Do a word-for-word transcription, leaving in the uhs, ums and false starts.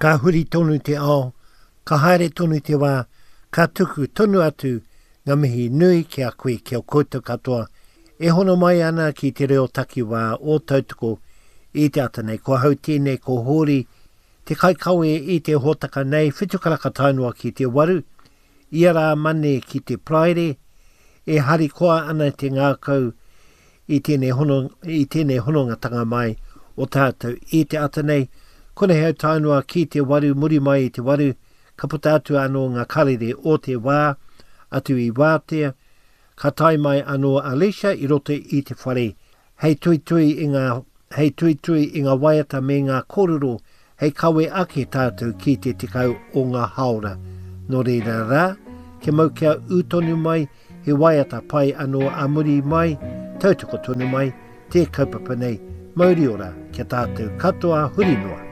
Ka huri tonu te ao, ka haere tonu te wā, ka tuku tonu atu ngā mihi nui ki a koe, ki a koutou katoa, e hono mai ana ki te reo takiwā o Tautoko i te ata nei. Ko ahau tēnei, ko Hōri, te kaikawe i te hōtaka nei, whitu karaka tae noa ki te waru, ia rā Mane ki te Paraire, e harikoa ana te ngākau i tēnei hono, i tēnei honongatanga mai o tātou i te ata nei. Konei hau tae noa ki te waru, muri mai i te waru, ka puta atu anō ngā karere o te wā, atu i wātea, ka tae mai anō a Alicia i roto i te whare, hei tuitui i ngā, hei tuitui i ngā waiata me ngā kōrero hei kawe ake tātou ki te tekau o ngā haora. Nō reira rā, kia mau kia ū tonu mai, he waiata pai anō a muri mai, tautoko tonu mai, te kaupapa nei, mauri ora kia tātou katoa huri noa.